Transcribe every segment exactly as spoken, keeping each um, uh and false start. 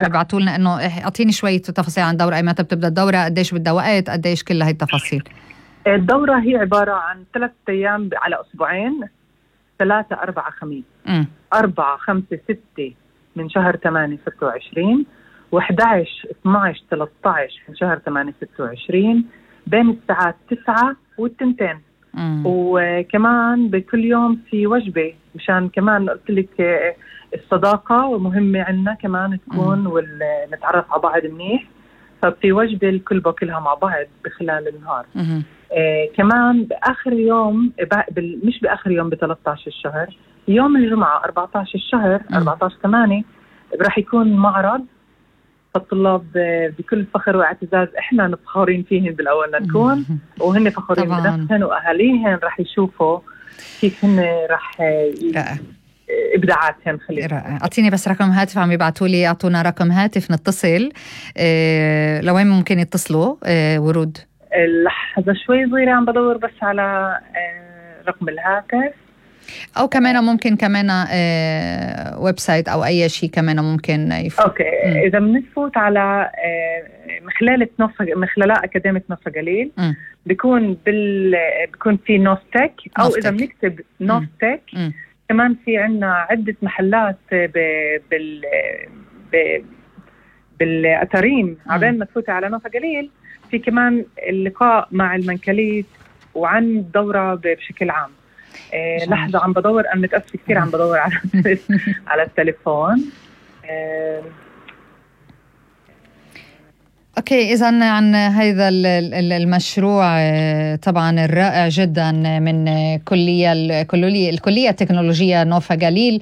ابعتوا لنا انه اعطيني شويه تفاصيل عن الدوره، اي متى بتبدا الدوره، قديش بدها وقت، قديش كل هاي التفاصيل. الدوره هي عباره عن ثلاث ايام على اسبوعين، ثلاثة أربعة خميس. م. أربعة خمسة ستة من شهر ثمانية ستة وعشرين، وإحدى عشر اثني عشر ثلاثة عشر من شهر ثمانية ستة وعشرين، بين الساعات تسعة والتنتين. م. وكمان بكل يوم في وجبة، مشان كمان قلت لك الصداقة ومهمة عنا كمان تكون، ونتعرف على بعض منيح، ففي وجبة الكل باكلها مع بعض بخلال النهار. آه كمان بآخر يوم، مش بآخر يوم ب ثلاثة عشر الشهر، يوم الجمعة أربعة عشر الشهر أربعة عشر ثمانية راح يكون معرض، فالطلاب بكل فخر واعتزاز احنا نفخرين فيهن بالاول نكون، وهن فخورين بنفسهم واهاليهن راح يشوفوا كيف هن راح ابداعاتهم. خلينا اعطيني بس رقم هاتف، عم يبعتوا لي اعطونا رقم هاتف نتصل. إيه لوين ممكن يتصلوا؟ إيه ورود لحظه شوي صغيره عم بدور بس على إيه رقم الهاتف، او كمان ممكن كمان آه ويب سايت او اي شيء كمان ممكن يفوت. اوكي م. اذا بنفوت على آه مخلالة نوف مخللاء اكاديميه نوف جليل، بيكون بال بيكون في نوفتك، او نوفتك. اذا بنكتب نوفتك م. كمان في عنا عده محلات ب... بال ب... بالاتارين. عبين ما تفوتي على نوف جليل في كمان اللقاء مع المنكليت وعن الدوره بشكل عام. إيه لحظة عم بدور، أنا متأسفة كثير عم بدور على على التليفون. إيه اوكي، اذا عن هذا المشروع طبعا الرائع جدا من كليه الكليه الكليه التكنولوجيه نوفا جليل،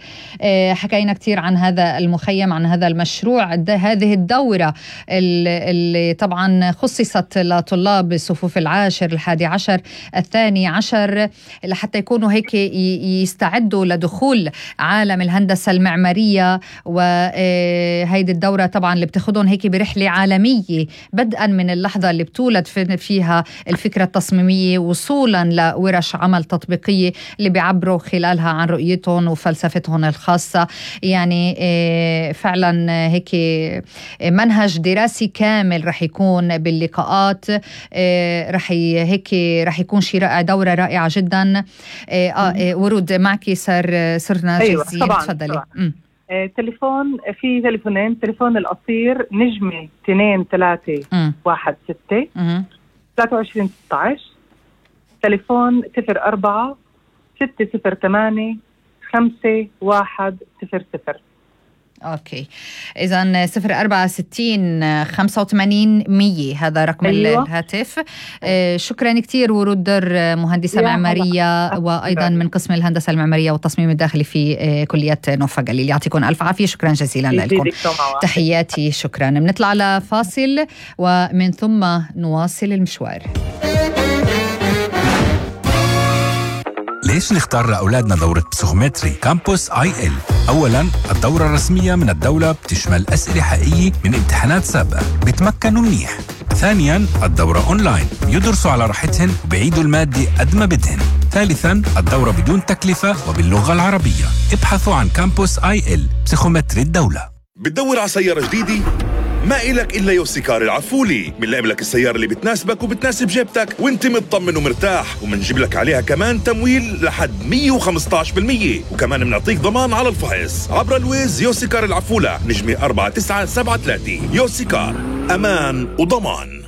حكينا كثير عن هذا المخيم، عن هذا المشروع، هذه الدوره اللي طبعا خصصت لطلاب الصفوف العاشر الحادي عشر الثاني عشر لحتى يكونوا هيك يستعدوا لدخول عالم الهندسه المعماريه. وهيدي الدوره طبعا اللي بتاخذهم هيك برحله عالميه، بدءا من اللحظة اللي بتولد فيها الفكرة التصميمية، وصولا لورش عمل تطبيقية اللي بيعبروا خلالها عن رؤيتهم وفلسفتهم الخاصة. يعني فعلا هيك منهج دراسي كامل رح يكون باللقاءات، رح هيك رح يكون شيء رائع، دورة رائعة جدا. آه ورود معك صار صرنا أيوة جاهزين. تفضلي. آه، تليفون، في تليفونين، تليفون القصير نجمة اثنين ثلاثة واحد ستة ثلاثة وعشرين ستة عشر، تليفون صفر أربعة ستة صفر ثمانية خمسة واحد صفر صفر. اوكي، اذا صفر أربعة ستين خمسة وثمانين مية هذا رقم أيوة. الهاتف. آه شكرا كثير ورود در، مهندسه معماريه وايضا من قسم الهندسه المعماريه والتصميم الداخلي في آه كليه نوفا جليل. يعطيكم الف عافيه، شكرا جزيلا لكم، تحياتي، شكرا. بنطلع على فاصل ومن ثم نواصل المشوار. ليش نختار لأولادنا دورة بسيكومتري كامبوس آي إل؟ أولاً، الدورة الرسمية من الدولة بتشمل أسئلة حقيقية من امتحانات سابقة، بتمكنوا منيح. ثانياً، الدورة أونلاين، يدرسوا على راحتهن وبيعيدوا المادة قد ما بدهن. ثالثاً، الدورة بدون تكلفة وباللغة العربية. ابحثوا عن كامبوس آي إل بسيكومتري الدولة. بتدور على سيارة جديدة؟ ما إلك إلا يوسيكار العفولي، بنلاقي لك السيارة اللي بتناسبك وبتناسب جيبتك وانت مطمن ومرتاح، ومنجيب لك عليها كمان تمويل لحد مية وخمسة عشر بالمية، وكمان بنعطيك ضمان على الفحص عبر الويز. يوسيكار العفولة، نجمة أربعة تسعة سبعة ثلاثة. يوسيكار، أمان وضمان.